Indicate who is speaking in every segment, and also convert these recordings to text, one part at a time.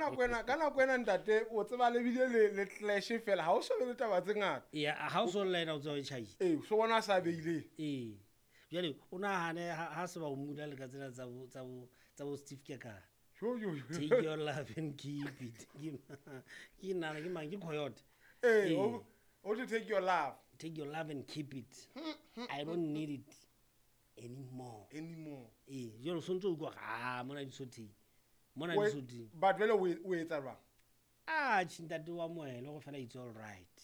Speaker 1: Ka nako ena ntate, o tseba le bile le clash fela, ha o so be le taba tse ngata.
Speaker 2: Ya ha o so lla ena, o tswa o tjhaile.
Speaker 1: Ee, so bona a sa beileng.
Speaker 2: Ee, jwale o nahane ha se ba o mula le ka tsena tsa bo Steve Kekana.
Speaker 1: Jo, jo, jo.
Speaker 2: "Take your love and keep it." Ke nana ke mang, ke Coyote.
Speaker 1: Ee.
Speaker 2: Ee.
Speaker 1: O to "Take your love."
Speaker 2: "Take your love and keep it, I don't need it anymore."
Speaker 1: Anymore.
Speaker 2: Ee, jwale o sontse o utlwa gore a mona di sotheng, mona di sotheng.
Speaker 1: But jwale o etsa jwang?
Speaker 2: A tjhe, ntate wa moele go fela, it's all right.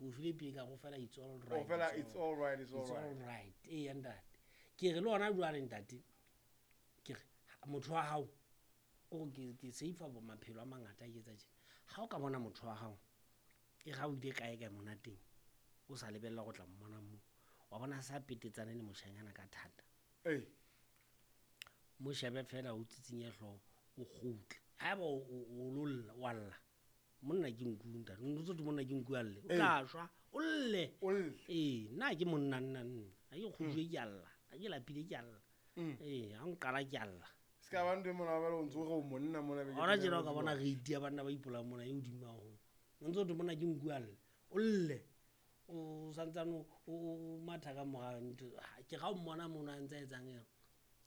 Speaker 2: O file pele ka go fela, it's all
Speaker 1: O
Speaker 2: right.
Speaker 1: fela, it's all right, it's all
Speaker 2: It's all
Speaker 1: right.
Speaker 2: right. Ee, ntate, ke re le ona jwale, ntate, ke re motho wa hao o ke save bo maphelo a mangata a ke etsa tjena. Ha o ka bona motho wa hao e ga o ile kae kae monateng, o sa lebella go tla mmona moo, wa bona sa petetsane le moshanyana ka thata, mo shebe fela, o tsitsinye hlooho, o kgutle. Haeba o lo lla, wa lla. Monna ke nku, ntate, o ntse monna ke nku a lle, o tla shwa. O lle.
Speaker 1: O lle.
Speaker 2: Ee, nna ke monna, nna ha ke kgujwe ke a lla, ha ke lapile ke a lla. Ee, ha nqala ke a lla.
Speaker 1: Se ka ba ntho e mona ba le o ntse o re o monna mona be ke
Speaker 2: Gona
Speaker 1: tena
Speaker 2: tjena o ka
Speaker 1: o
Speaker 2: bona
Speaker 1: bua.
Speaker 2: Re itia banna ba ipolang mona e hodimo haholo. O ntse o thwe monna ke nku a lle, o lle, o santsane o matha ka mora ntho. Ke ga o mmona mono a ntse a etsang eng,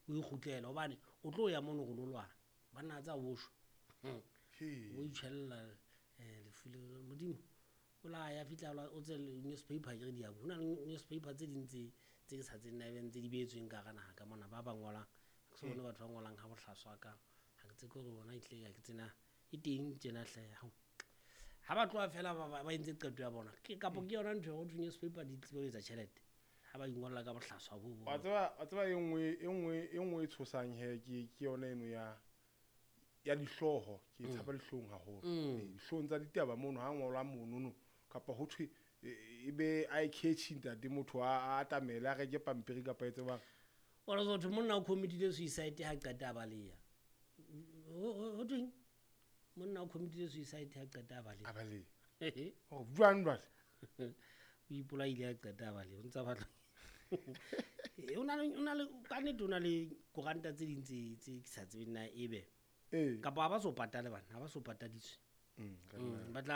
Speaker 2: o ikgutlela hobane o tlo ya mono go lo lwana banna tsa o shwa.
Speaker 1: Hee.
Speaker 2: O itjhella lefu le modimo o la ya fihla o tse newspaper ke re di ho na le newspaper tse ding tse ke sa tsebeng na ebe ntse di beetsweng ka hara naha ka mona, ba ngolang ha ke so bone batho ba ngolang ha bohlaswa ka ha ke tsebe hore bona ehlile ha ke tsena e teng tjena hle. Hao, ha ba tloha fela ba entse qeto ya bona ke kapo ke yona ntho e ho thwe newspaper di tsebe ho etsa tjhelete ha ba ingolla ka bohlaswa bo.
Speaker 1: Wa tseba e nngwe e tshosang he ke yona eno ya dihlooho. Ke tshaba dihloohong haholo. Ee, dihloohong tsa ditaba mono ha ngolwa monono kapa ho thwe e be eye catchy, ntate, motho a atamele a reke pampiri kapa e tsebang.
Speaker 2: Ora so thwe monna o committile suicide ha qeta a baleha. Ho thweng monna o committile suicide ha qeta a baleha?
Speaker 1: A baleha. Oh, jwang jwale?
Speaker 2: O ipolaile ha qeta a baleha, o ntsa batla. O na le ka nnete, o na le koranta tse ding tse ke sa tsebeng na ebe kapa ha ba so patale bana, ha ba so patadiswe.
Speaker 1: Ka nna.
Speaker 2: Ba tla.